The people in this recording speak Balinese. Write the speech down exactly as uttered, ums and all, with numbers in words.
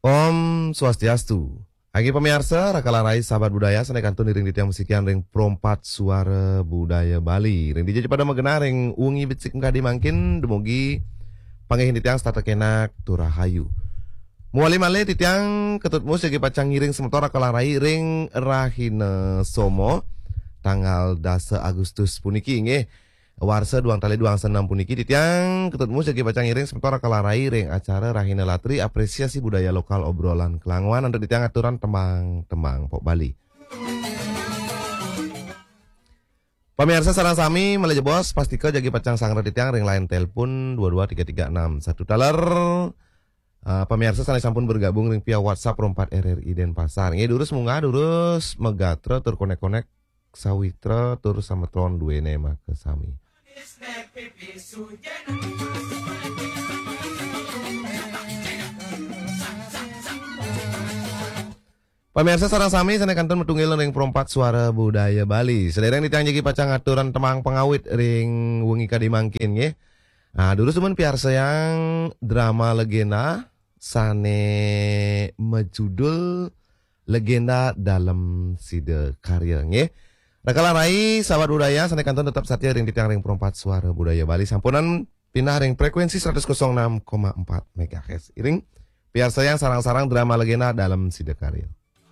Om Swastiastu. Agi pamiarsa, raka lan rai sahabat budaya, sané kantun iring titiang masikian ring Pro empat Suara Budaya Bali. Ring dija ja pada magenah ring wengi becik makadi mangkin, dumugi panggihin titiang setata kenak tur rahayu. Mawali malih titiang Ketut Mus jagi pacang ngiring semeton raka lan rai ring rahina Soma, tanggal dasa Agustus puniki nggih. Warsa duang tali duang senam puniki titiang Ketut Mus jagi pacang ngiring semeton raka lan rai ring acara Rahina Latri Apresiasi Budaya Lokal Obrolan Kelangoan antuk titiang aturan tembang-tembang pop Bali. Pamiarsa sareng sami, malih jebos pastika jagi pacang sangra titiang ring line telepon dua dua tiga tiga enam satu taler. Ah, pamiarsa sané sampun bergabung ring via WhatsApp Pro empat R R I Denpasar. Nggih, durus munggah, durus magatra tur konek-konek sawitra tur sametron duéné makasami. Pamiarsa sareng sami sané kantun matunggil ring Pro empat Suara Budaya Bali. Sadéréng titiang jagi pacang aturan tembang pangawit ring wengi kadi mangkin nggih. Ah, durus dumun piarsayang drama legenda sané majudul Legenda Dalem Sida Karya nggih. Raka lan rai sahabat budaya sané kantun tetep satia ring titiang ring Pro empat Suara Budaya Bali. Sampunang pindah ring frekuensi seratus kosong enam koma empat megahertz. Iring piarsayang sareng-sareng drama legenda Dalem Sida Karya.